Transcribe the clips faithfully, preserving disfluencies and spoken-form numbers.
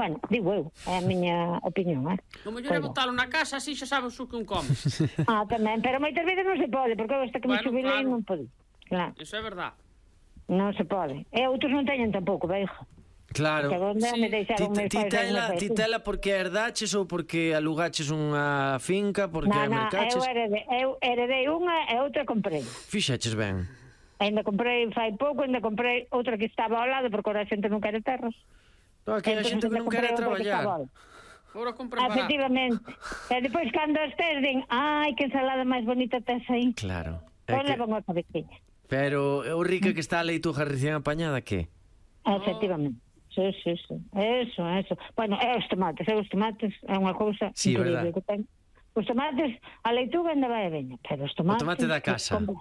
Bueno, digo eu, é a miña opinión, eh? O mellor é botalo na casa, así xa sabes o que un comes. Ah, tamén, pero moitas veces non se pode, porque eu hasta que me Bueno, xubilei claro. non pode. Claro, Eso é verdad. non se pode. E outros non teñen tampouco, veijo. Claro. Que onde Sí. me Ti, deixaron meus ti, pais aí tela, no ti Facebook. tela porque herdaches ou porque alugaches unha finca, porque Na, na, mercaches? eu heredei, eu heredei unha e outra comprei. Fixaches ben. Ainda comprei fai pouco, ainda comprei outra que estaba ao lado, porque ahora a xente non quere terras. No, aquí a Entonces, xente que ainda non quere comprei outra que estaba traballar. ao lado. Agora compra barato. Efectivamente. E depois cando estes din, ai, que ensalada máis bonita tes aí. Claro. É Pois que... levan a cabeciña. Pero o rica que está a leituja recién apañada, que? Efectivamente. Sí, sí, sí. Eso, eso. Bueno, é os tomates, é os tomates, é unha cousa Sí, increíble verdad. que ten. Os tomates, a leituga ainda vai e veña, pero os tomates... tomate da casa. Compra,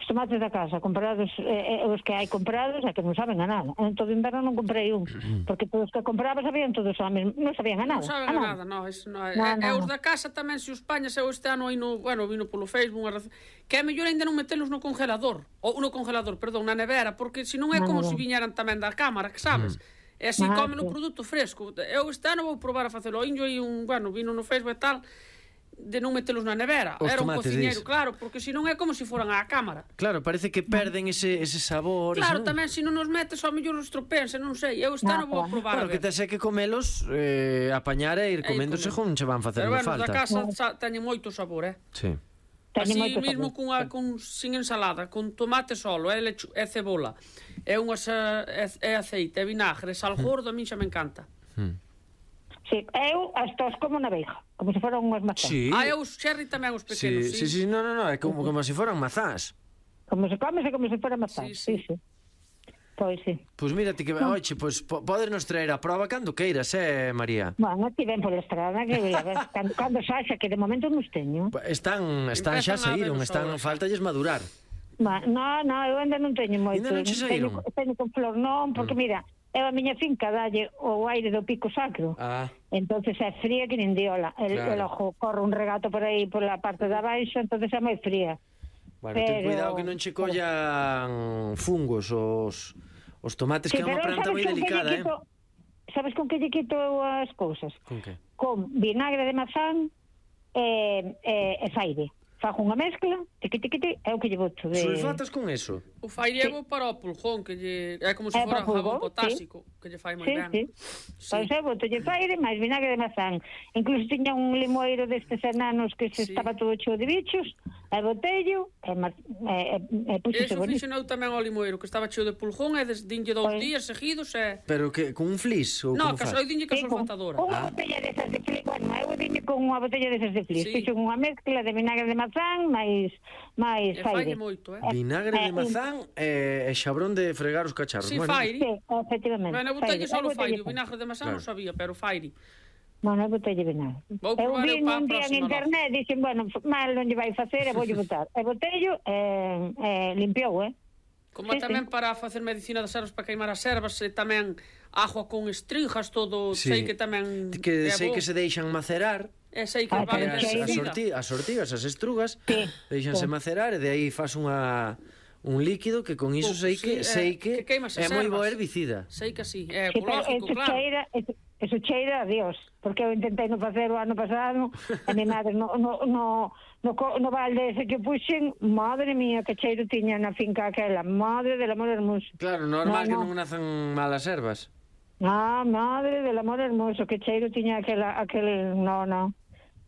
os tomates da casa, comprados, eh, eh, os que hai comprados, é que non saben a nada. En todo inverno non comprei un, porque todos que compraba sabían todos a mesmo, non sabían a nada. Non saben a a nada, non, eso non é. No, E, no, e os no. da casa tamén, se os pañas eu este ano aí no, bueno, vino polo Facebook, unha rece- que é mellor ainda non metelos no congelador, ou no congelador, perdón, na nevera, porque senón é Na como se nevera. viñeran tamén da cámara, que sabes? E así Ah, comen o sí. produto fresco. Eu este ano vou probar a facelo, indio aí un, bueno, vino no Facebook e tal, de non metelos na nevera. Os Era un tomates, cociñeiro, dis. claro, porque senón é como se foran á cámara. Claro, parece que perden ese, ese sabor. Claro, ese, non? tamén se non os metes, ao mellor os tropense, non sei. Eu este Ah, ano vou a claro. probar. Claro, a que ver. tes é que comelos, eh, apañar e ir E ir comendo comendo. según che van Pero facendo bueno, os da falta. casa sa- teñen moito sabor, eh? Sí. Teñen Así moito mesmo sabor. cunha, con, sin ensalada, con tomate solo, é, lechu, é cebola, é, unhas, é, é aceite, é vinagre, é sal gordo, a min xa me encanta. Mm. Sí, eu hasta os como na veiga, como se foran unhas mazás. Sí. Ah, e os cherry tamén, os Sí, pequenos, sí, sí, no, no, no, é como, como se foran mazás. Como se come, como se fora mazás. Sí, Sí, sí. sí. Pois sí. Pois mírate que, oxe, pois po, podes nos traer a prova cando queiras, eh, María. Bueno, ti ven pola estrada, que a ver, cando, cando saxa, que de momento non os teño. Están, están xa Empezan a saíron, ver os están, sabores. faltalles madurar. Ma, no, no, eu ainda non teño moito. Ainda non che saíron? Teño, teño con flor, non, porque mm. mira, eu a miña finca dalle o aire do pico sacro. Ah, Entonces é fría que nin diola. El, Claro. el ojo corre un regato por aí pola parte de abaixo, entonces é moi fría. bueno, ten Pero- cuidado que non che collan fungos os, os tomates, que é unha planta moi con que delicada, lle eh? quito, sabes con que lle quito eu as cousas? Con que? Con vinagre de mazán e, e, e faire. Fajo unha mezcla, tiqui, tiqui, tiqui, é o que lle boto de... Sulfatas con eso? O faire é bo para o pulgón, que lle, é como se É fora para o jabón pulgón, potásico, que lle fai moi Sí, ben. sí. Sí. Pois eu boto lle faire, máis vinagre de mazán. Incluso tiña un limoeiro destes enanos que se Sí. estaba todo cheo de bichos, e botello, e, ma- e, e, e puxose Eso bonito. fixen eu tamén ao limoeiro, que estaba cheo de pulgón, e des, dinlle dous Pois. días seguidos, e... Pero que con un flis ou No, como que faz? eu dinlle que Sí, son con sulfatadora. unha botella desas de flis, bueno, eu diñe con unha botella desas de flis. Sí. Fixo unha mezcla de vinagre de mazán, máis máis E faire. falle moito, eh? Vinagre de Eh, mazán e, e xabrón de fregar os cacharros. Sí, bueno, faire. Sí, efectivamente. Bueno, eu botelle faire. solo Eu botelle faire, o vinagre de mazán Claro. non sabía, pero faire. Bueno, eu botelle vinagre. Vou Eu probar vi eu para a un día en próxima internet, dixen, bueno, mal non lle vai facer, e voulle botar. E botello, e, e limpiou, eh? Como Sí, tamén sí. para facer medicina das ervas para queimar as ervas, e tamén agua con estrinjas, todo, Sí. sei que tamén que é sei bo. que se deixan macerar, E sei que Ah, vale pero as, que as, aí- orti, as ortigas, as estrugas, Sí. deixanse Sí. macerar e de aí fas unha un líquido que con iso Pouco, sei sí, que é- sei que, que queimas é as moi bo ervas. herbicida. Sei que sí, é Sí, pero ecológico, eso claro. cheira, eso, eso cheira a Dios, porque eu intentei non facer o ano pasado, e mi madre no, no, no, no, co- no balde ese que puxen, madre mía, que cheiro tiña na finca aquela, madre del amor hermoso. Claro, normal No, que no. non nazan malas ervas. Ah, madre del amor hermoso, que cheiro tiña aquela, aquel, no, no.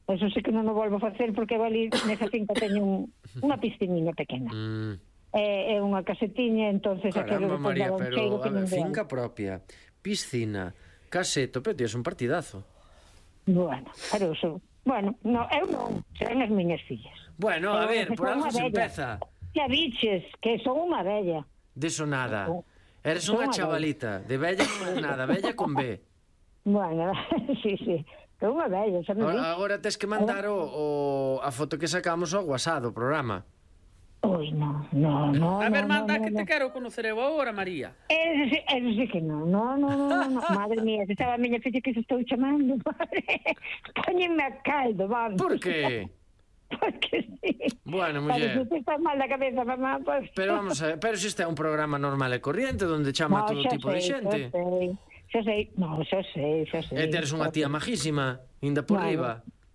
Eso sí que non o volvo a facer, porque eu ali nesa finca teño un, unha piscinina pequena. Mm. É, é unha casetiña, entonces Caramba, aquilo María, daba un pero cheiro a que non ver, veas. finca propia, piscina, caseto, pero tías un partidazo. Bueno, pero eso, bueno, no, eu non, serán as miñas fillas. Bueno, a Eu ver, que por son algo unha se vella. empeza. Xa biches, que son unha vella. Deso nada. Oh. Eres Son unha unha chavalita, de bella non é nada, bella con B. Bueno, sí, sí, que unha vella, xa me Agora, dixo. agora tes que mandar o, o, a foto que sacamos ao WhatsApp do programa. Ui, no, no, no, A ver, no, manda no, que no. te quero conocer eu agora, María. Eso sí, eso sí que no, no, no, no, no, no. Madre mía, se estaba a miña filla que se estou chamando, madre. Póñenme a caldo, vamos. Por que? Porque sí. Bueno, Vale, muller. se estás mal da cabeza, mamá, pues... Pero vamos a ver, pero se este é un programa normal e corriente onde chama No, todo xa tipo de sei, xente. xa sei. Xa sei, no, xa sei, xa sei. E teres unha tía majísima, inda por Bueno, riba.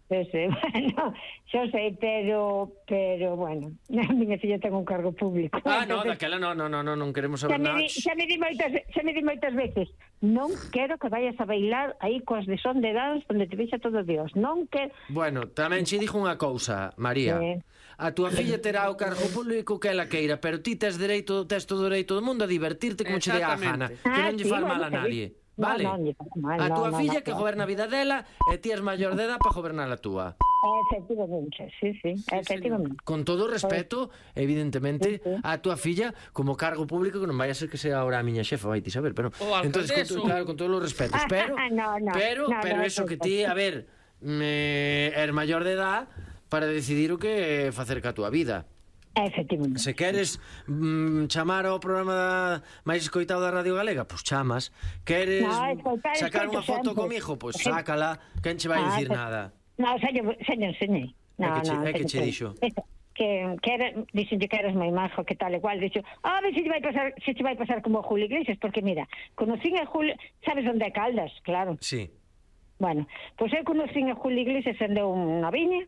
Xa sei, bueno, xa sei, pero, pero, bueno, a miña filla ten un cargo público. Ah, no, entonces, daquela no, no, no, no, non queremos xa saber me, nada. di, xa me di moitas, xa me di moitas veces, non quero que vayas a bailar aí coas de son de dance onde te vexa todo Dios, non quero. Bueno, tamén che dixo unha cousa, María. Sí. A túa filla terá o cargo público que ela queira, pero ti tes dereito, tes todo o dereito do mundo a divertirte como che dé a gana, que Ah, non lle sí, fal bueno, mal a que nadie. No, Vale? no, lle faz mal, A no, túa no, filla no, que no. goberna a vida dela e ti és maior de edad para gobernar a túa. Efectivamente, sí, sí, efectivamente. Con todo o respeto, evidentemente, Sí, sí. a túa filla como cargo público, que non vai a ser que sea ahora a miña xefa, vai ti saber, pero O entonces con, alcaldeso. to- claro, con todos os respetos, pero No, no, pero no, pero no, eso no, que no. ti, a ver, me er maior de edad para decidir o que facer ca túa vida. Efectivamente. Se queres mm, chamar ao programa máis escoitado da Radio Galega, pois chamas. Queres No, escoitar, sacar escoito unha foto sempre. comigo, pois Sí. sácala, quen che vai Ah, dicir pues- nada. No, xa lle, xa lle enseñei. No, É que che- no, é que teño che dixo? Eso, que, que era, dixenlle que eras moi majo, que tal e cual, dixo, a ver se lle vai pasar, se che vai pasar como a Julio Iglesias, porque mira, conocín a Julio, sabes onde é Caldas, claro. Sí. Bueno, pois eu conocín a Julio Iglesias en deu unha viña,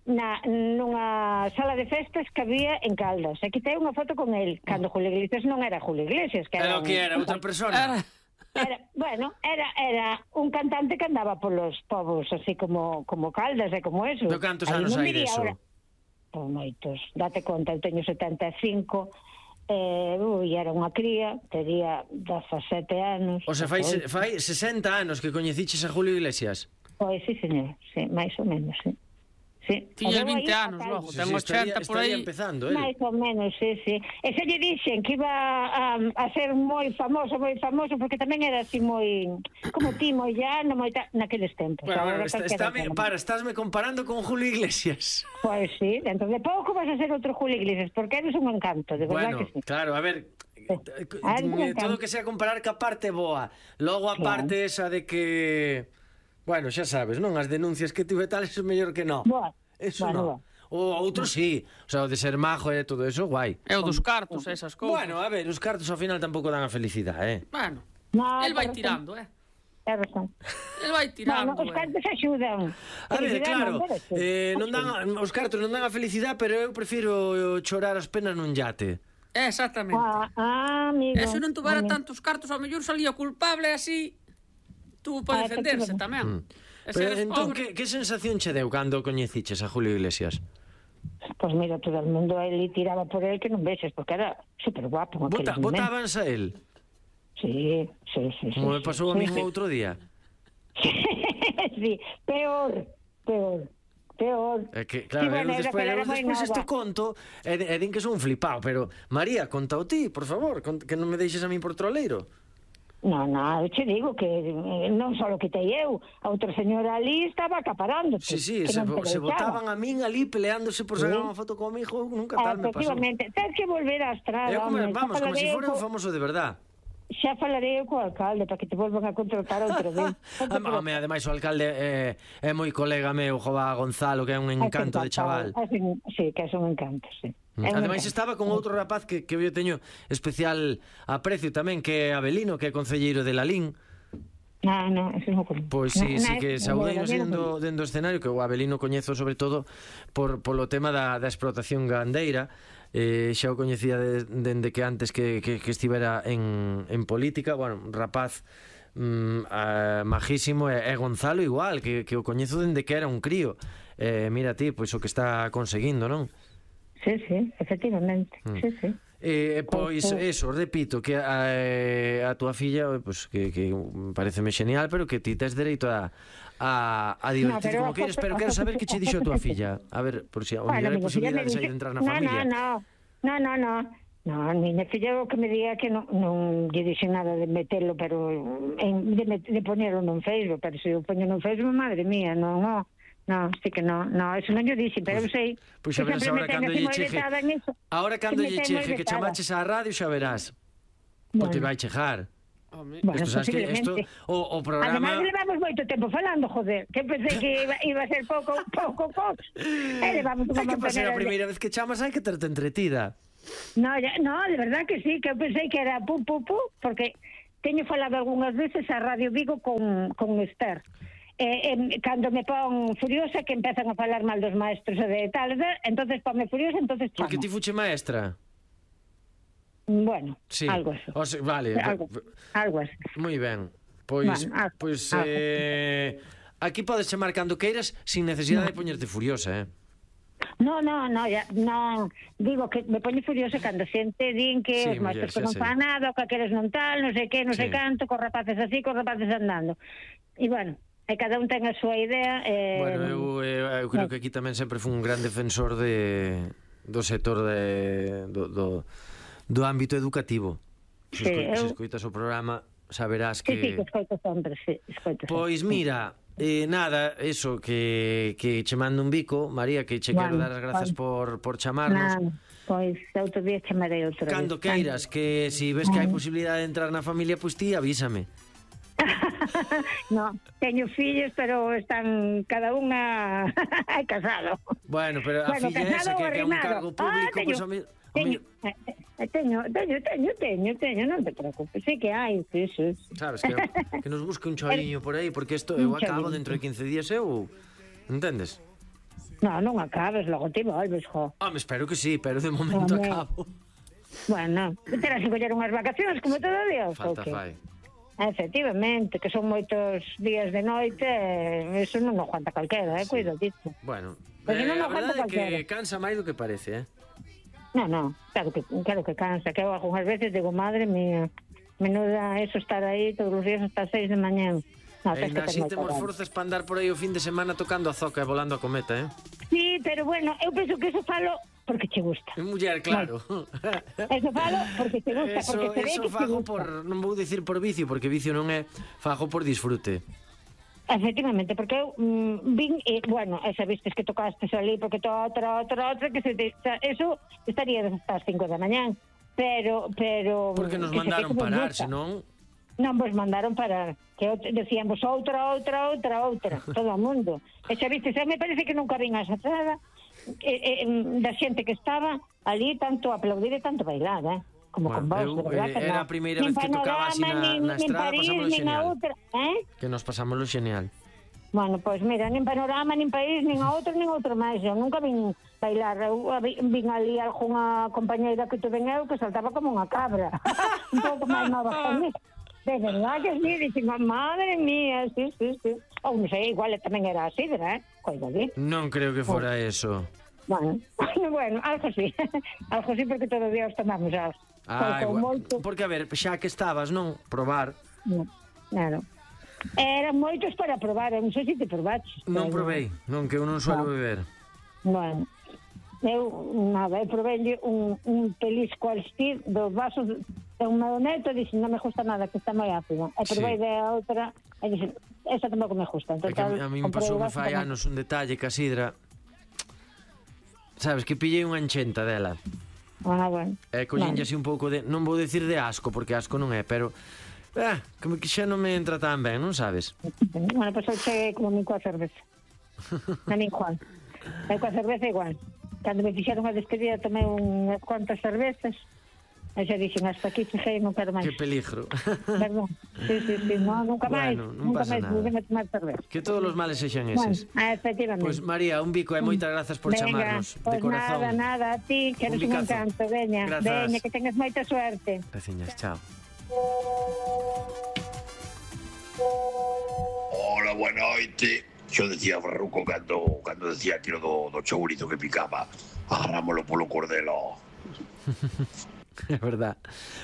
na, nunha sala de festas que había en Caldas. E quitei unha foto con el, cando Julio Iglesias non era Julio Iglesias, que Era era o que un- era, outra persona. Era... Era, bueno, era era un cantante que andaba polos povos así como como Caldas e como eso. Pero cantos Aí anos non hai diría deso? ahora. Pois moitos. Date conta, eu teño setenta e cinco, eh, ui, era unha cría, tería dezasete anos. O sea, fai, Pois, se- fai sesenta anos que coñeciches a Julio Iglesias. pois sí, señor, sí, máis ou menos, sí. Sí. Tiña E veu aí vinte anos fatal. logo, Sí, ten sí, estaría, ochenta por estaría aí. empezando, eh? Máis ou menos, sí, sí. E se lle dixen que iba a, a ser moi famoso, moi famoso, porque tamén era así moi, como ti, moi llano, moi ta, naqueles tempos. Bueno, bueno, Agora está, calquera está, ten. para, estásme comparando con Julio Iglesias. Pois sí, dentro de pouco vas a ser outro Julio Iglesias, porque eres un encanto, de verdad Bueno, que sí. claro, a ver, Ah, es un eh, todo encanto. que sea comparar ca parte boa. Logo a Claro. parte esa de que, bueno, xa sabes, non? As denuncias que tuve tal, eso é mellor que non. Boa. Eso Bueno, non. boa. O outro sí, o sea, o de ser majo e todo eso, guai. É o dos cartos, e esas cousas. Bueno, a ver, os cartos ao final tampouco dan a felicidade, eh? Bueno, No, el vai ten razón, tirando, eh? ten razón. El vai tirando, Bueno, os eh? cantos axudan. A ver, Felicidade claro, non merece. eh, non dan, a- os cartos non dan a felicidade, pero eu prefiro chorar as penas nun yate. Eh, Exactamente. Ah, ah, amigo. E se non tuvera amigo. tantos cartos, ao mellor salía culpable así, tuvo para Ah, defenderse efectivamente. tamén. Mm. E se Pero eres entón, pobre... que, que sensación che deu cando coñeciches a Julio Iglesias? Pois mira, todo o mundo ali tiraba por el que non vexes, porque era super guapo. en Vota, aqueles momentos. votábanse a él? Sí, sí, sí. Como sí, me pasou a sí, mí sí. outro día. Sí, peor, peor, peor. É que, claro, Sí, bueno, eu era despois, que era eu moi despois nova. isto conto e, e din que son un flipado, pero María, conta o ti, por favor, cont- que non me deixes a mí por troleiro. No, no, eu che digo que eh, non só lo quitei eu, a outra señora ali estaba acaparando. Sí, sí, que se, non te se deixaba. votaban a min ali peleándose por sacar Sí. unha foto comigo, nunca tal me pasou. Efectivamente, tens que volver a estrada. Eu como, home, vamos, xa como se falarei fora un co- famoso de verdad. Xa falarei eu co alcalde para que te volvan a contratar outra vez. Ah, home, ademais o alcalde é, é moi colega meu, Jova Gonzalo, que é un encanto de chaval. Sí, que é un encanto, sí. É un Ademais encanto. estaba con outro rapaz que, que eu teño especial aprecio tamén, que é Abelino, que é concelleiro de Lalín. Ah, no, eso non conozco. Pois sí, No, sí no, que no, saudei no, no, dendo, no. dendo escenario, que o Abelino coñezo sobre todo por, polo tema da, da explotación gandeira. Eh, xa o coñecía de, dende que antes que, que, que estivera en, en política. Bueno, un rapaz mm, eh, majísimo, e, e Gonzalo igual, que, que o coñezo dende que era un crío. Eh, mira ti, pois o que está conseguindo, non? Sí, sí, efectivamente, Mm. sí, sí. Eh, pois Pois, eso, repito, que a, a túa filla, pois, que, que pareceme genial, pero que ti tes dereito a, a, a divertirte No, pero como a queres, foto- pero a quero foto saber que- que che a dixo a foto túa que- filla. A ver, por si, o Bueno, mellor hai mi filla me posibilidades aí dice- de entrar na no, familia. No, no, no, no, no. No, a miña filla o que me diga que non, non lle dixen nada de metelo, pero en, de, met- de ponerlo nun Facebook, pero se eu poño nun Facebook, madre mía, non, non. No, sí que no, no, eso non lle dixen, pero eu sei. Pois xa que verás sempre agora me ten cando así lle moi cheje. vetada en iso. Ahora cando me lle ten moi cheje que vetada. chamaches á radio xa verás. Porque Bueno. vai chejar. Home, Bueno, Isto sabes que isto posiblemente. o, o Ademais, programa levamos moito tempo falando, joder, que pensei que iba, iba a ser pouco, pouco, pouco. E levamos unha É que para ser a montonera de- primeira vez que chamas hai que terte entretida. No, ya, no, de verdad que sí, que eu pensei que era pu, pu, pu, porque teño falado algunhas veces a Radio Vigo con, con Esther. Eh, eh, cando me pon furiosa que empezan a falar mal dos maestros e de tal, entonces ponme furiosa, entonces chamo. Porque ti fuche maestra? Bueno, sí. algo así. O sea, vale. Algo, algo así. Moi ben. Pois, bueno, algo, pois algo. eh, aquí podes chamar cando queiras sin necesidade no. de poñerte furiosa, eh? No, no, no, ya, no, digo que me poño furiosa cando xente din que sí, os maestros muller, non fan nada, o que aqueles non tal, non sei que, non sí. sei canto, cos rapaces así, cos rapaces andando. E bueno, e cada un ten a súa idea. Eh... Bueno, eu, eu, eu creo que aquí tamén sempre fui un gran defensor de, do sector de, do, do, do ámbito educativo. Se, sí, esco, eu... se escoitas o programa saberás que... Sí, sí, que escoito sempre, sí, escoito sempre. Pois mira... Eh, nada, eso, que, que che mando un bico, María, que che bueno, quero dar as grazas bueno. por, por chamarnos. Nah, pois outro día chamarei outro día. Cando queiras, que si ves que hai posibilidade de entrar na familia, pois ti avísame. No, teño fillos, pero están cada unha casado. Bueno, pero a bueno, filla esa que, que é un cargo público, ah, pois... Pues, Teño, teño, teño, teño, teño, teño, non te preocupes, sei que hai, sí, sí. Sabes, que, que nos busque un choliño por aí, porque isto eu acabo dentro de quince días, eu... Entendes? No, non acabes, logo ti volves, jo. Home, espero que sí, pero de momento Home. acabo. Bueno, terás que coller unhas vacacións como todo Dios. Falta okay. fai. Efectivamente, que son moitos días de noite, eso non o aguanta calquera, eh, cuido disso. Bueno, eh, non a verdade é que cansa máis do que parece, eh? No, no, claro que, claro que cansa, que eu algunhas veces digo, madre mía, menuda eso estar aí todos os días hasta as seis de mañán. No, e así temos forzas para andar por aí o fin de semana tocando a zoca e volando a cometa, eh? Sí, pero bueno, eu penso que eso falo porque che gusta. Muller, claro. No. Eso falo porque te gusta, eso, porque te ve eso que fago te gusta. por, non vou dicir por vicio, porque vicio non é, fago por disfrute. Efectivamente, porque eu mm, vin, e, bueno, esa vistes que tocaste ali, porque toda outra, outra, outra, que se te, eso estaría hasta as cinco da mañán, pero, pero... Porque nos mandaron parar, senón... Non vos mandaron parar, que decíamos outra, outra, outra, outra, todo o mundo. E xa vistes, me parece que nunca vin a esa trada e, e, da xente que estaba ali, tanto aplaudir e tanto bailar, eh? Como bueno, con vos, eu, de verdad, eh, que era no. a primeira nin vez que tocaba así na, nin, na estrada, París, pasámoslo genial. Outra, eh? Que nos pasámoslo genial. Bueno, pois pues mira, nin Panorama, nin País, nin a outro, nin outro máis. Eu nunca vin bailar. Eu vin ali algunha compañeira que tuve eu que saltaba como unha cabra. Un pouco máis nova que mí. De verdad que sí, dixen, madre mía, sí, sí, sí. Ou non sei, igual tamén era así, verdad? Coida ali. Non creo que fora oh. eso. Bueno, bueno, algo sí. Algo sí, porque todo día os tomamos as. Ah, porque, a ver, xa que estabas, non? Probar. No, claro. Eran moitos para probar, non sei se te probaches. Non provei, non, que eu non suelo beber. Bueno, eu, nada, eu provei un, un pelisco al stir dos vasos de un meu neto e dixen, non me gusta nada, que está moi ácido. E provei sí. de outra e dixen, esa tampouco me gusta. Entonces, é que a, a mí me pasou me fai anos un detalle que a sidra, sabes, que pillei unha enchenta dela. Ah, bueno. E collinlle así un pouco de, non vou dicir de asco, porque asco non é, pero eh, como que xa non me entra tan ben, non sabes? Bueno, pois pues eu cheguei como min coa cerveza. A min igual. Eu coa cerveza igual. Cando me fixeron a despedida tomei unhas cuantas cervezas e xa dixen, hasta aquí cheguei, non quero máis. Que peligro. Perdón. Sí, sí, sí, no, nunca máis. Bueno, non nunca pasa máis nada. a tomar cerveza. Que todos os males sexan eses. Bueno, efectivamente. Pois pues, María, un bico e moitas grazas por Venga, chamarnos pues de corazón. Nada, nada, a ti, que eres un, un encanto, veña, veña, que tengas moita suerte. Graciñas, chao. Hola, boa noite. Yo decía Farruco cando, cando decía aquilo do, do chourizo que picaba, agarrámoslo polo cordelo. É verdad.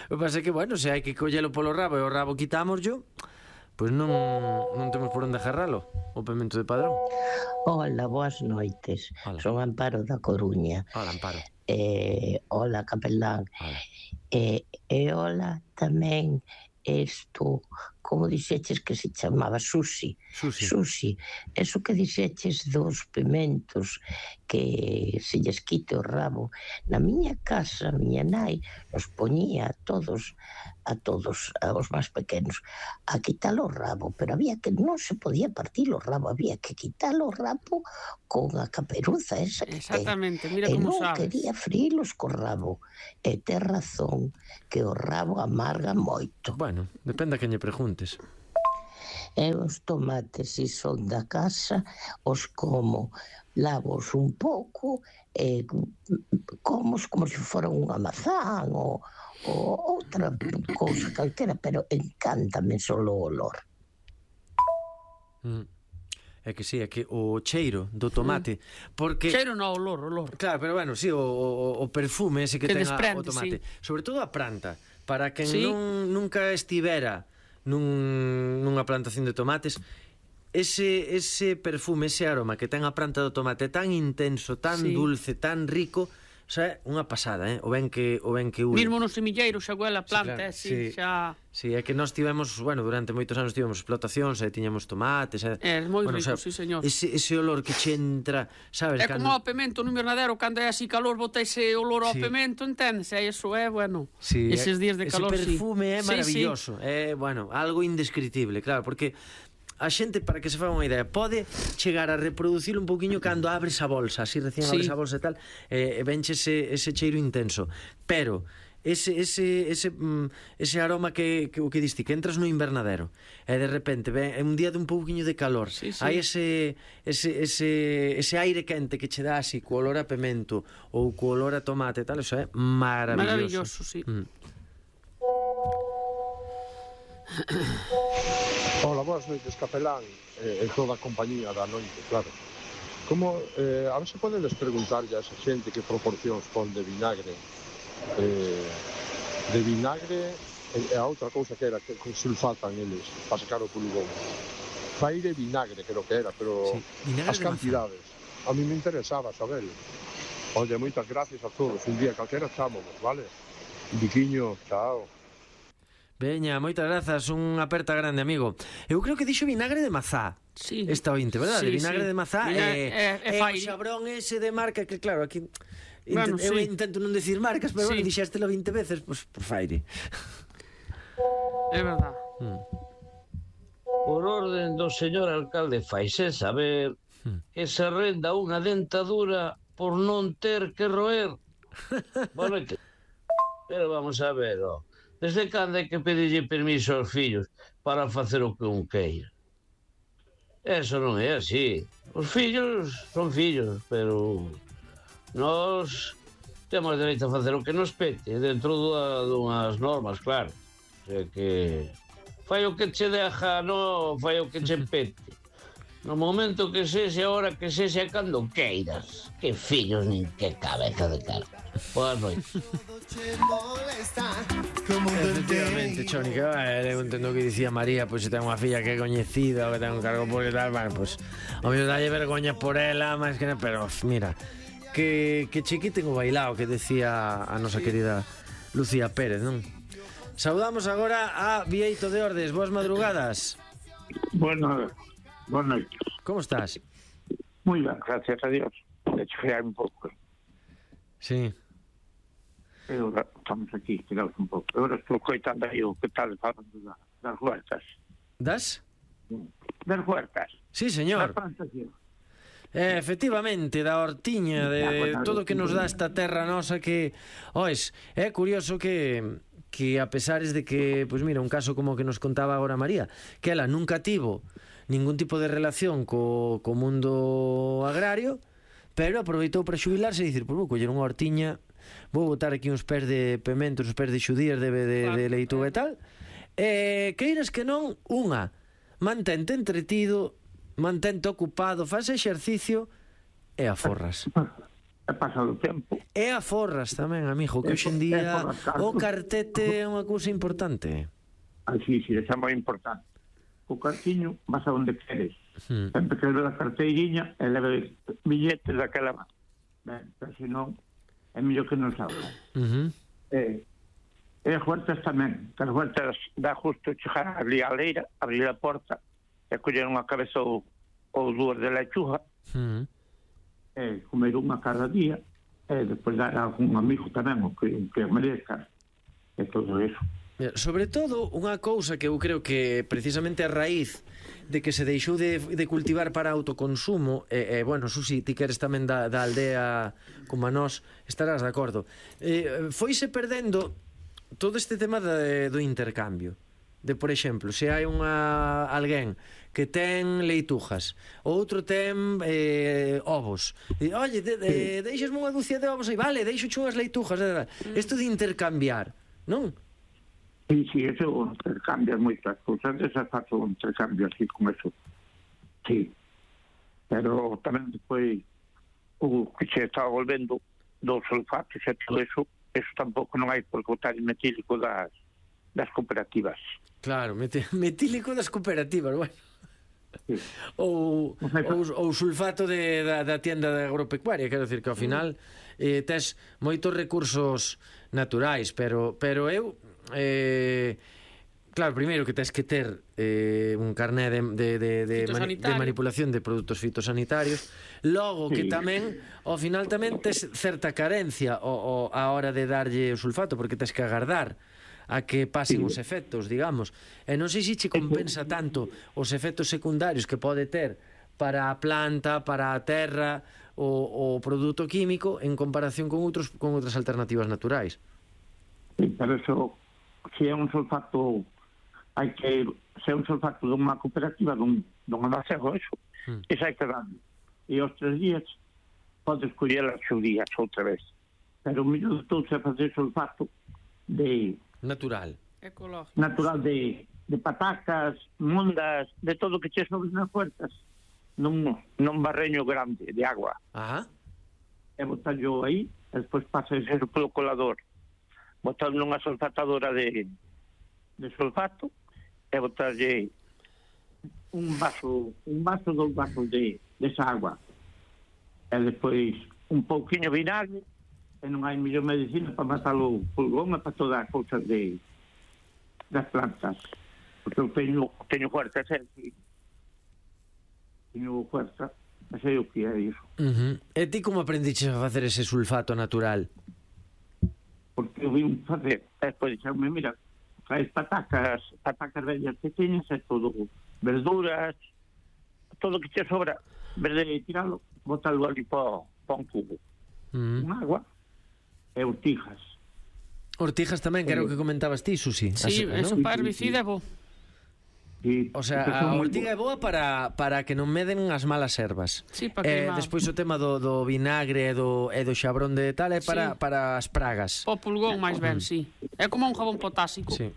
O que pasa é que, bueno, se hai que collelo polo rabo e o rabo quitámoslo, pois pues non, non temos por onde agarralo, o pemento de Padrón. Hola, boas noites. Hola. Son Amparo da Coruña. Hola, Amparo. Eh, hola, capelán. Hola. Eh, e hola tamén esto como dixeches que se chamaba sushi. Sushi. Sushi. Eso que dixeches dos pimentos que se lles quite o rabo. Na miña casa, a miña nai nos poñía a todos, a todos, aos máis pequenos, a quitar o rabo, pero había que, non se podía partir o rabo, había que quitar o rabo con a caperuza esa que Exactamente, mira e como non sabes. quería frilos co rabo. E ten razón que o rabo amarga moito. Bueno, depende a quen lle preguntes. E os tomates, se son da casa, os como, lavos un pouco, e como como se fora unha mazán ou, ou outra cousa calquera, pero encántame solo o olor. Mm. É que sí, é que o cheiro do tomate, porque... Cheiro non, olor, olor. Claro, pero bueno, sí, o, o, o perfume ese que, Que ten desprende, o tomate, sí. sobre todo a planta, para quen Sí. non, nunca estivera nun, nunha plantación de tomates, ese, ese perfume, ese aroma que ten a planta do tomate tan intenso, tan Sí. dulce, tan rico, o sea, unha pasada, eh? O ben que o ben que ule. Mismo no semilleiro xa huele a planta, Sí, claro, eh, sí, sí. xa... Sí, é que nós tivemos, bueno, durante moitos anos tivemos explotacións, e tiñamos tomates, e, É, moi bueno, rico, o sea, sí, señor. Ese, ese olor que che entra, sabes? É como o pemento no invernadero, cando é así calor, bota ese olor ao Sí. pemento, entendes? E iso é, bueno, Sí, eses días de calor, ese perfume é sí. maravilloso, Sí, é, bueno, algo indescritible, claro, porque a xente, para que se faga unha idea, pode chegar a reproducir un pouquiño cando abres a bolsa, así recién Sí. abres a bolsa e tal, e, e venche ese, ese cheiro intenso, pero ese, ese, ese, mm, ese aroma que, que o que diste, que entras no invernadero e de repente ven, é un día de un pouquiño de calor, Sí, sí. hai ese, ese, ese, ese aire quente que che dá así co olor a pemento ou co olor a tomate e tal, eso é maravilloso. maravilloso, sí. Mm. Hola, boas noites, capelán, e eh, toda a compañía da noite, claro. Como, eh, a ver se podedes preguntarlle a esa xente que proporcións pon de vinagre, eh, de vinagre e, e a outra cousa que era que, que sulfatan eles para sacar o pulgón. Faire vinagre, creo que era, pero Sí, vinagre as de mazá. cantidades. A mí me interesaba saber. Oye, moitas gracias a todos. Un día calquera chámonos, vale? Biquiño, chao. Veña, moitas grazas, unha aperta grande, amigo. Eu creo que dixo vinagre de mazá. Sí. Esta ointe, verdad? Sí, de vinagre sí. de mazá Vinagre- e, é- é e o faire. xabrón ese de marca que, claro, aquí Bueno, intent, eu sí. intento non decir marcas, pero Sí. bueno, dixéstelo vinte veces, pois pues, por faire. É verdad. Mm. Por orden do señor alcalde faise saber que se renda unha dentadura por non ter que roer. Boa noite. Pero vamos a ver, ó. Desde cando hai que pedirlle permiso aos fillos para facer o que un queira? Eso non é así. Os fillos son fillos, pero nós temos dereito a facer o que nos pete dentro dua, dunhas normas, claro. O sea que fai o que che deja, non fai o que che pete. No momento que sexe, a hora que sexe, cando queiras. Que fillos nin que cabeza de carga. Boas noites. Efectivamente, Choni, que eh, eu entendo que dicía María, pois pues, se ten unha filla que é coñecida ou que ten un cargo público e tal, bueno, pois pues, o mellor dalle vergoña por ela, máis que nada, pero mira, que, que che quiten o bailao que decía a nosa querida Lucía Pérez, non? Saudamos agora a Vieito de Ordes, boas madrugadas. Bueno, boas noites. Como estás? Moi ben, gracias a Dios. De hecho, foi un pouco. Sí. E agora estamos aquí, quedaos un pouco. Agora estou coitando aí o que tal falando da, das huertas. Das? Das huertas. Sí, Das señor. plantacións. Eh, efectivamente, da hortiña, de todo o que nos dá esta terra nosa que, ois, é curioso que que a pesares de que, pois mira, un caso como o que nos contaba agora María, que ela nunca tivo ningún tipo de relación co, co mundo agrario, pero aproveitou para xubilarse e dicir, pois vou coller unha hortiña, vou botar aquí uns pés de pementos, uns pés de xudías, de, de, de leituga e tal, e queiras que non, unha, mantente entretido, mantente ocupado, faz exercicio e aforras. É pasado o tempo. E aforras tamén, amigo, que hoxe en día o cartete é unha cousa importante. Así, sí, é moi importante. O cartiño vas a onde queres. Hmm. Sempre que leve a carteiriña e leve billetes daquela. Ben, pero se non, é mellor que non salga. Uh -huh. Eh, E as huertas tamén. As huertas dá justo chegar ali á leira, abrir a porta, e coller unha cabeza ou, ou dúas de lechuga, Mm. e comer unha cada día, e despois dar a algún amigo tamén, o que, que merezca, e todo eso. Mira, sobre todo, unha cousa que eu creo que precisamente a raíz de que se deixou de, de cultivar para autoconsumo, e, e bueno, Susi, ti que eres tamén da, da aldea como a nós, estarás de acordo, eh, foise perdendo todo este tema de, do intercambio. De, por exemplo, se hai unha alguén que ten leitujas, outro ten eh, ovos, e, oye, de, de, deixasme unha dúcia de ovos aí, vale, deixo unhas leitujas, isto de intercambiar, non? Sí, sí, eso intercambia moitas cousas, esa fazo un intercambio así con eso. Sí. Pero tamén depois o que se está volvendo dos sulfatos e todo eso, eso tampouco non hai por botar el metílico das, das cooperativas. Claro, meti, metílico das cooperativas, bueno. Sí. Ou, ou, ou sulfato de, da, da tienda de agropecuaria, quero dicir que ao final eh, tes moitos recursos naturais, pero, pero eu eh, claro, primeiro que tes que ter eh, un carné de, de, de, de, mani, de manipulación de produtos fitosanitarios, logo que tamén ao final tamén tes certa carencia o, o, a hora de darlle o sulfato, porque tes que agardar a que pasen os efectos, digamos, e non sei se che compensa tanto os efectos secundarios que pode ter para a planta, para a terra o, o produto químico en comparación con outros con outras alternativas naturais. Sí, pero eso, se é un sulfato, hai que, se é un sulfato dunha cooperativa, dun, dun alacego, eso, mm. eso hai que dar. E os tres días podes coller as días outra vez. Pero o mellor de todo é fazer sulfato de... Natural. Ecológico. Natural de, de patacas, mundas, de todo o que che sobre nas puertas, nun, nun barreño grande de agua. Ajá. E botallo aí, e despois pasa a ser polo colador. Botar nunha sulfatadora de, de sulfato e botarlle un vaso, un vaso, dos vasos de, de esa agua. E despois un pouquiño vinagre, e non hai mellor medicina para matar o pulgón e para todas as cousas de das plantas. Porque eu teño, teño fuerza, sei, teño fuerza, e sei o que é iso. Uh-huh. E ti como aprendiches a facer ese sulfato natural? Porque eu vim facer, e despois dixeume, mira, traes patacas, patacas vellas que teñes, e todo, verduras, todo o que te sobra, verde de tiralo, botalo ali para pa un cubo. Uh-huh. Un agua, e ortijas. Ortijas tamén, que era o que comentabas ti, Susi. Sí, As, eso ¿no? para herbicida é bo. Sí, o sea, a ortiga é boa para, para que non meden as malas ervas. Sí, para eh, queimar. Despois o tema do, do vinagre e do, e do xabrón de tal é para, Sí. para as pragas. O pulgón máis ben, sí. É como un jabón potásico. Sí.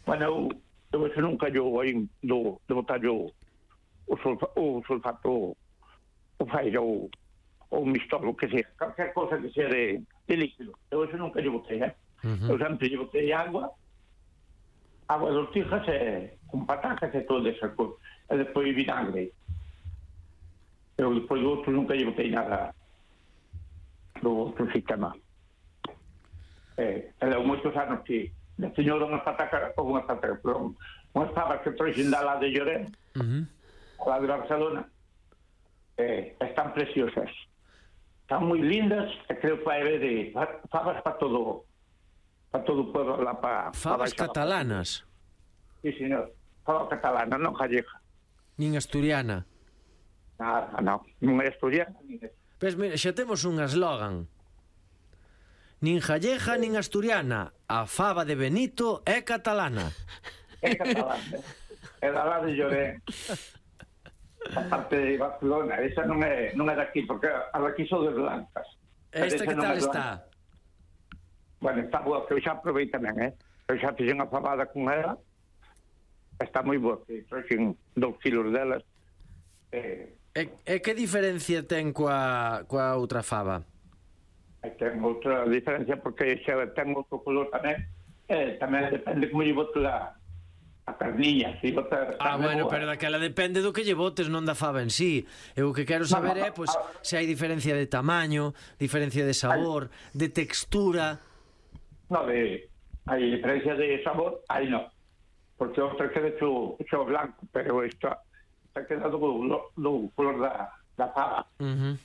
Bueno, eu, eu nunca yo aí do, de botar yo o, sulfa, o sulfato, o faira, o, o mistolo, que sea, calquer cosa que sea de, de líquido. Eu eso nunca yo botei, eh? Uh-huh. Eu sempre yo botei agua, agua de ortijas e con patacas e todo esa cosa. E despois vinagre. Eu despois do outro nunca yo botei nada do outro sistema. Eh, e deu moitos anos que de señor unhas patacas, ou unhas patacas, perdón, unhas pavas que trouxen da lá de Llorén, uh-huh. lá de Barcelona, eh, están preciosas. Están moi lindas, e creo que vai haber de favas para todo para todo o pueblo lá para... Favas para catalanas? Sí, señor. Fava catalana, non gallega. Nin asturiana? Nada, non. Non é asturiana, nin é. Pues mira, xa temos un eslogan. Nin gallega, nin asturiana. A fava de Benito é catalana. É catalana. É da lá de Llorén. A parte de Barcelona. Esa non é, non é daqui, porque a daqui son de blancas. Esta que tal está? Bueno, está boa, que eu xa provei tamén, eh? Eu xa fixen a fabada con ela. Está moi boa, que trouxen dous kilos delas. Eh, e, e que diferencia ten coa, coa outra fava? Ten outra diferencia porque xa ten outro color tamén. Eh, tamén depende como lle bote a, a carniña. Si bote ah, bueno, boa. Pero daquela depende do que lle botes, non da fava en sí. Eu o que quero saber no, no, é pues, a... se hai diferencia de tamaño, diferencia de sabor, de textura... No, de, hai diferencia de sabor, aí non. Porque outra queda xo, xo blanco, pero esta está quedado do, do color da, da fava. Uh-huh.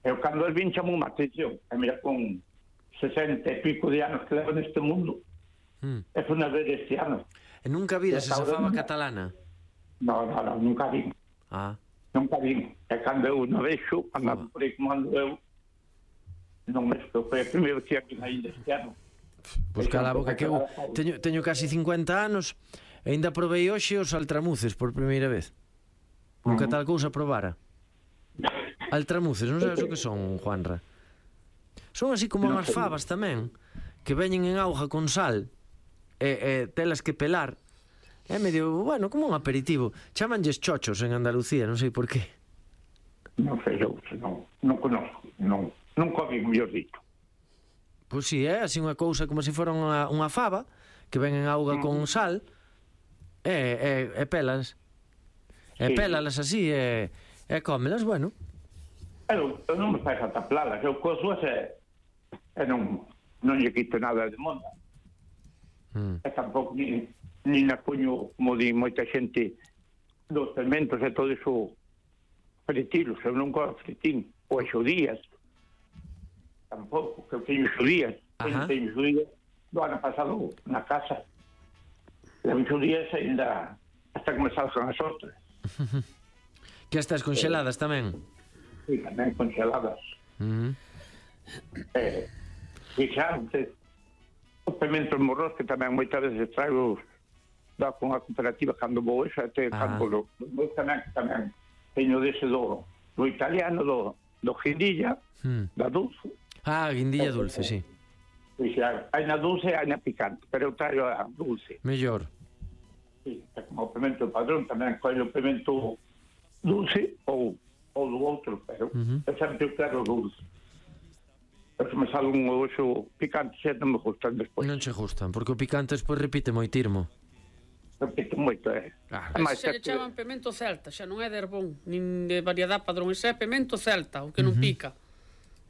Eu cando el vin chamou má atención, e mira, con sesenta e pico de anos que levo neste mundo, Mm. é unha vez este ano. E nunca viras esa Esta hora fava non. catalana? No, no, no, nunca vi. Ah. Nunca vi. E cando eu non vexo, andando por aí como ando eu, non me estou. Foi a primeira vez que aquí ainda este ano. Pois cala a boca, que eu teño, teño casi cincuenta anos e ainda probei hoxe os altramuces por primeira vez. Nunca tal cousa probara. Altramuces, non sabes o que son, Juanra? Son así como unhas favas tamén, que veñen en auga con sal e, e telas que pelar. É medio, bueno, como un aperitivo. Chamanlles chochos en Andalucía, non sei por qué. Non sei eu, non, non conozco, non, nunca vi, mellor dito. Pois si, é así unha cousa como se fora unha, unha fava que ven en auga con sal e, e, e pelas e Sí. pélalas así e, e cómelas, bueno. Eu, eu non me faz falta plalas, eu coso e, e non, non lle quito nada de monda. Mm. E tampouco ni, ni na puño, como di moita xente, dos fermentos e todo iso fritilos, eu non cojo fritín, ou xudías, tampouco, que eu teño xudías, eu Ajá. teño xudías do ano pasado na casa, levo xudías ainda hasta que me salgan as outras. Que estas congeladas tamén. Sí, tamén congeladas. Mm. Eh, e xa antes, os pimentos morros que tamén moitas veces traigo da con a cooperativa cando vou esa até Ah. campo do, do tamén, tamén teño dese do, do italiano do, do guindilla, Mm. da dulce Ah, guindilla dulce, sí. e xa, hai na dulce e hai na picante, pero eu traio a dulce. Mellor. Sí, é como o pimento padrón tamén coño o pimento dulce ou, ou do outro, pero Ujú. eu sempre quero o dulce. Pero se me sale un oso picante xa non me gustan despois. Non che gustan, porque o picante despois repite moi tirmo. Repito moito, é. Claro. É máis Ese se lle que- chaman pimento celta, xa non é de herbón, nin de variedad padrón, ese é pimento celta, o que non pica.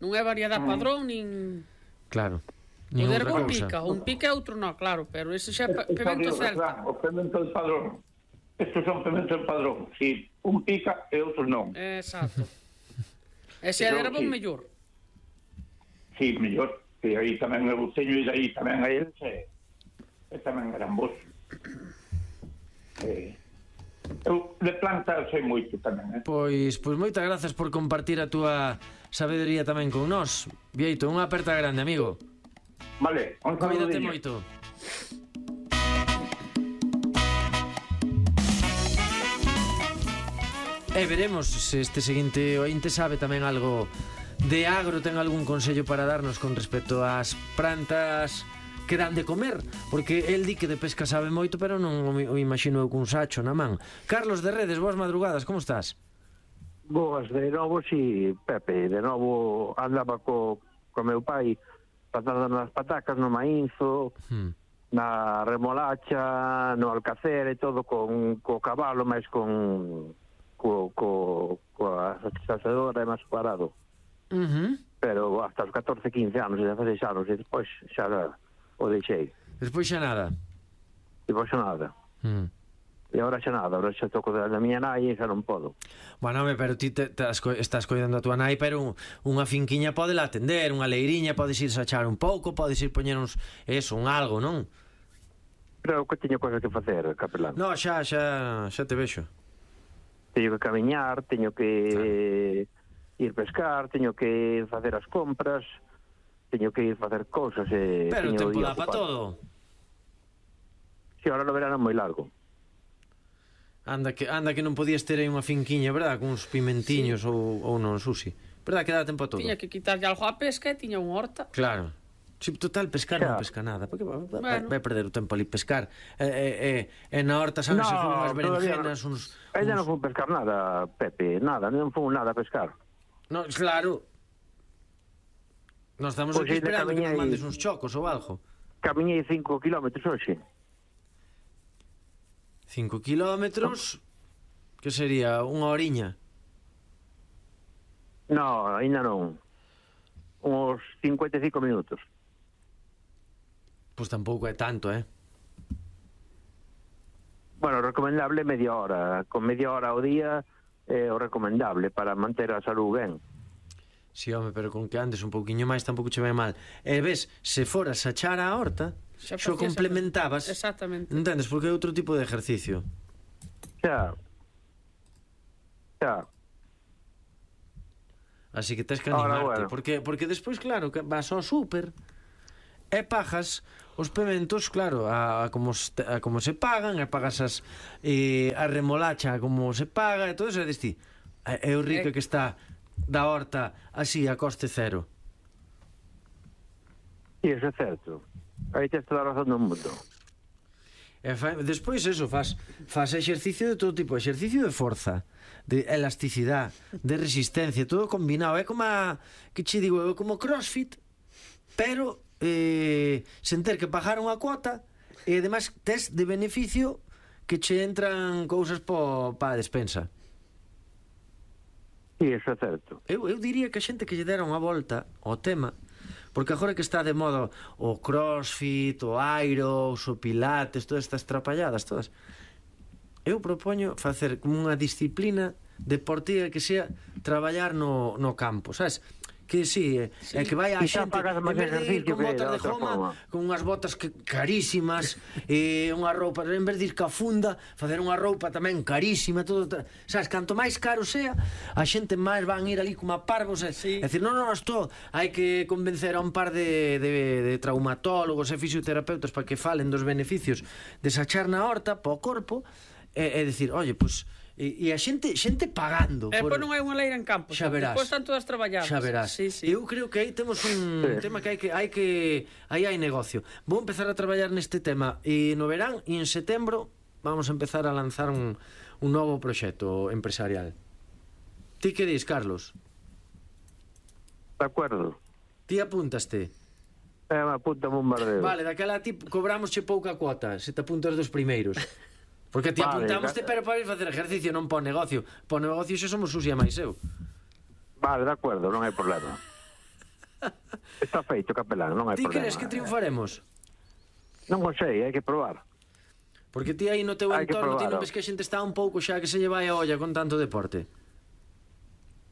Non é variedad padrón, nin... Claro. O Nin de outra herbón cousa. pica, un pica e outro non, claro, pero ese xa é pa- Estos pimento son, celta. O pimento del padrón. Estos son pimento del padrón. Si un pica e outro non. Exacto. Ese é de Pero herbón sí. mellor. Si, mellor. Que aí tamén eu teño e aí tamén a eles e, e tamén eran vos. Eh, eu de planta sei moito tamén, eh? Pois, pois moitas grazas por compartir a túa sabedoría tamén con nós. Vieito, unha aperta grande, amigo. Vale, un Cuídate saludinho. moito. E veremos se este seguinte ointe sabe tamén algo de agro, ten algún consello para darnos con respecto ás plantas que dan de comer, porque el di que de pesca sabe moito, pero non o, o imagino eu cun sacho na man. Carlos de Redes, boas madrugadas, como estás? Boas, de novo, si, Pepe, de novo andaba co, co meu pai patando nas patacas, no maínzo, Hmm. na remolacha, no alcacer e todo con co cabalo, máis con co, co, coa sacedora e máis parado. Uh -huh. Pero hasta os catorce, quince anos, e dezaseis anos, e despois xa o deixei. Despois xa nada. Despois xa nada. Hmm. E agora xa nada, agora xa toco da miña nai e xa non podo. Bueno, home, pero ti te, te as co- estás coidando a tua nai, pero un, unha finquiña pode la atender, unha leiriña, podes ir sachar un pouco, podes ir poñer uns, eso, un algo, non? Pero que teño cosas que facer, capelán. No, xa, xa, xa te vexo. Teño que camiñar, teño que ir pescar, teño que facer as compras, teño que ir facer cousas e Pero o teño o tempo día dá pa ocupado. todo. Si, ahora no verano é moi largo. Anda que, anda que non podías ter aí unha finquiña, verdad? Con uns pimentiños sí. ou, ou non, Susi. Verdad que dá tempo a todo? Tiña que quitarlle algo á pesca e tiña unha horta. Claro. Si, total, pescar Xa. non pesca nada. Porque vai, vai, Bueno. vai perder o tempo ali pescar. E, e, e, e na horta saben se fun unhas berenjenas, uns... Ella uns... non fun pescar nada, Pepe, nada, non fun nada a pescar. No, claro. Nós estamos Pois aquí ainda esperando que nos camiñei- mandes uns chocos ou algo. Camiñei cinco kilómetros hoxe. Cinco kilómetros... Que sería unha horiña. No, ainda non. Uns cincuenta e cinco minutos. Pois tampouco é tanto, eh? Bueno, recomendable media hora. Con media hora ao día é o recomendable para manter a salud ben. Si, home, pero con que andes un pouquiño máis tampouco che vai mal. E ves, se foras a char a horta, Xa xo facías complementabas. Exactamente. Entendes? Porque é outro tipo de ejercicio. Xa. Xa. Así que tens que Ahora, animarte. bueno. Porque, porque despois, claro, que vas ao súper e pagas os pementos, claro, a, a, como, se, a como se pagan, e pagas as, e, a remolacha a como se paga, e todo eso, e desti, é o rico Eh. que está da horta así a coste cero. Sí, eso é certo. Aí tens toda a razón do mundo. E fa, despois eso, faz, faz exercicio de todo tipo, exercicio de forza, de elasticidade, de resistencia, todo combinado. É como a, que che digo, é como crossfit, pero eh, sen ter que pagar unha cuota, e ademais tes de beneficio que che entran cousas pa pa a despensa. Sí, eso é certo. Eu, eu diría que a xente que lle dera unha volta ao tema, porque agora que está de moda o crossfit, o aeros, o pilates, todas estas trapalladas, todas, eu propoño facer como unha disciplina deportiva que sea traballar no, no campo, sabes? Que sí, é, sí. É que vai a Quizá xente pagas en máis vez de ir ejercicio con que botas da de outra goma, forma. con unhas botas que carísimas, e unha roupa, en vez de ir ca funda, facer unha roupa tamén carísima, todo, sabes, canto máis caro sea, a xente máis van ir ali como a parvos, e, Sí. e decir, non, non, isto hai que convencer a un par de, de, de traumatólogos e fisioterapeutas para que falen dos beneficios de sachar na horta para o corpo, e, e decir, oye, pois, e, e a xente xente pagando E por... depois non hai unha leira en campo. Xa verás. Depois están todas traballadas. Xa verás. Sí, sí. Eu creo que aí temos un Sí. tema que hai que hai que aí hai negocio. Vou empezar a traballar neste tema e no verán e en setembro vamos a empezar a lanzar un un novo proxecto empresarial. Ti que dis, Carlos? De acordo. Ti apúntaste? É unha puta bombardeo. Vale, daquela ti cobramos che pouca cuota, se te apuntas dos primeiros. Porque ti Vale, apuntamoste, da- pero para ir facer ejercicio, non para o negocio. Para o negocio xa somos Susi e máis eu. Vale, de acordo, non hai problema. Está feito, capelán, non hai Ti problema. crees que triunfaremos? Non o sei, hai que probar. Porque ti aí no teu Hai que entorno ti non probalo. ves que a xente está un pouco xa que se lle vai a olla con tanto deporte.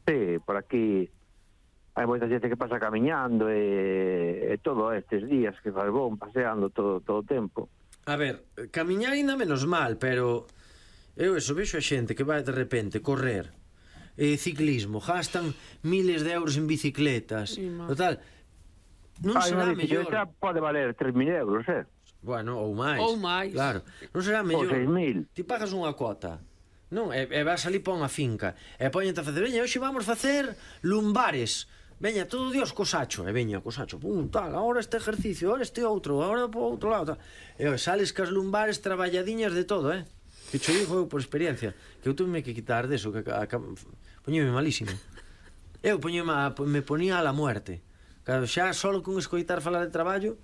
Sí, por aquí hai moita xente que pasa camiñando e, e todo estes días que faz bon, paseando todo, todo o tempo. A ver, camiñar ainda menos mal, pero eu eso vexo a xente que vai de repente correr, e ciclismo, gastan miles de euros en bicicletas, Sí, ma. total. Non Hai será unha mellor. bicicleta pode valer tres mil euros, eh? Bueno, ou máis. Ou máis. Claro, non será Ou mellor. seis mil. Ti pagas unha cuota. Non, e, e vas ali pa unha finca. E poñente a facer, veña, hoxe vamos facer lumbares. Veña, todo Dios co sacho. E veña, co sacho, pum, tal, agora este ejercicio, agora este outro, agora po outro lado, tal. E oi, sales cas lumbares traballadiñas de todo, eh? Que cho digo eu por experiencia, que eu tuve que quitar deso, que a, a, poñeme malísimo. Eu poñeme a, me ponía a la muerte. Claro, xa solo con escoitar falar de traballo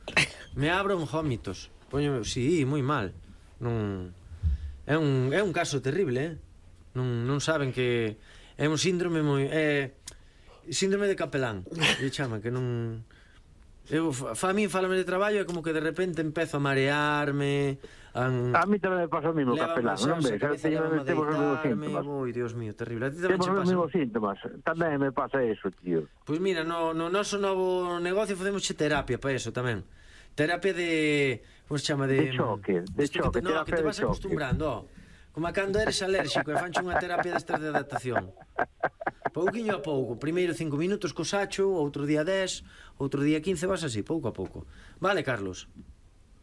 me abro en vómitos. Poñeme, sí, moi mal. Non é un é un caso terrible, eh? Non non saben que é un síndrome moi é síndrome de capelán. E chama que non eu fa, fa a min falame de traballo é como que de repente empezo a marearme, a, A mí tamén me pasa o mismo, capelán, non ves? Temos Temos os mesmos síntomas. Ui, Dios mío, terrible. A ti tamén Temos che os pasa. mesmos síntomas. Tamén me pasa eso, tío. Pois mira, no, no noso novo negocio facemos terapia para eso tamén. Terapia de... Como se chama? De, De choque, de isto que choque, te, no, que terapia te de vas choque. acostumbrando, ó. Como a cando eres alérxico e fanche unha terapia destas de adaptación. Pouquiño a pouco. Primeiro cinco minutos co sacho, outro día dez, outro día quince, vas así, pouco a pouco. Vale, Carlos?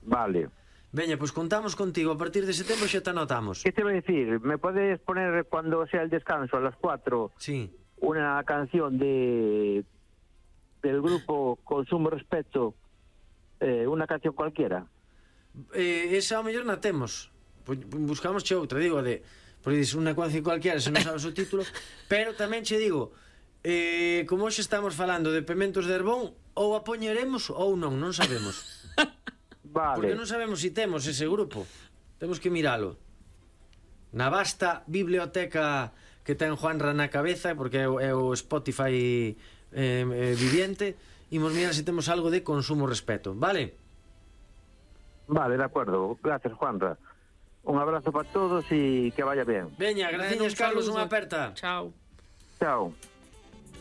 Vale. Veña, pois contamos contigo. A partir de setembro xa te anotamos. ¿Qué te voy a decir? ¿Me puedes poner cuando sea el descanso a las cuatro Sí. una canción de del grupo Consumo Respeto, eh, una canción cualquiera? Eh, esa ao mellor na temos. Pois buscamos che outra, digo, de... Porque dices unha canción cualquiera, se non sabes o título. Pero tamén che digo, eh, como hoxe estamos falando de Pementos de Herbón, ou a poñeremos ou non, non sabemos. Vale. Porque non sabemos se si temos ese grupo. Temos que miralo. Na vasta biblioteca que ten Juanra na cabeza, porque é o, é o Spotify eh, eh, viviente, imos mirar se temos algo de Consumo Respeto, vale? Vale, de acuerdo. Gracias, Juanra. Un abrazo para todos y que vaya bien. Veña, gracias, Carlos, unha aperta. Chao. Chao.